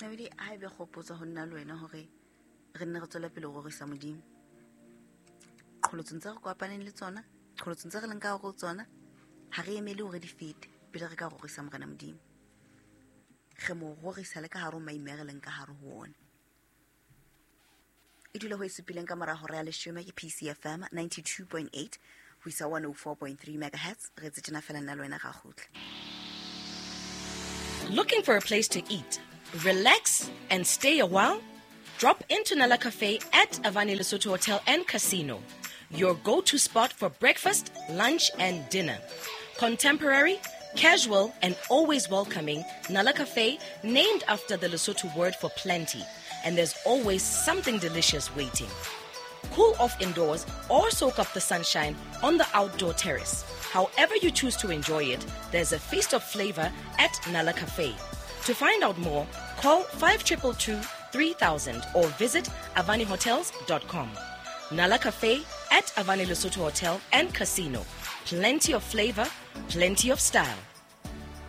Nabedi, ha ebe kgopotso ho nna le wena hore re nne re tswele pele ho rorisa Modimo. Qholotsong tse re kopaneng le tsona, qholotsong tse re leng ka hare ho tsona, ha re emele hore di fete pele re ka rorisa Morena Modimo. Re mo rorisa le ka hare ho maime a re leng ka hare ho ona. E dula ho e supileng ka mora hora ya leshome ke PCFM 92.8 ho isa 104.3 megahertz. Re etse tjena fela nna le wena ra kgutla. Looking for a place to eat, relax, and stay a while? Drop into Nala Cafe at Avani Lesotho Hotel and Casino, your go-to spot for breakfast, lunch, and dinner. Contemporary, casual, and always welcoming, Nala Cafe, named after the Lesotho word for plenty, and there's always something delicious waiting. Cool off indoors or soak up the sunshine on the outdoor terrace. However you choose to enjoy it, there's a feast of flavor at Nala Cafe. To find out more, call 5222 3000 or visit avanihotels.com. Nala Cafe at Avani Lesotho Hotel and Casino. Plenty of flavor, plenty of style.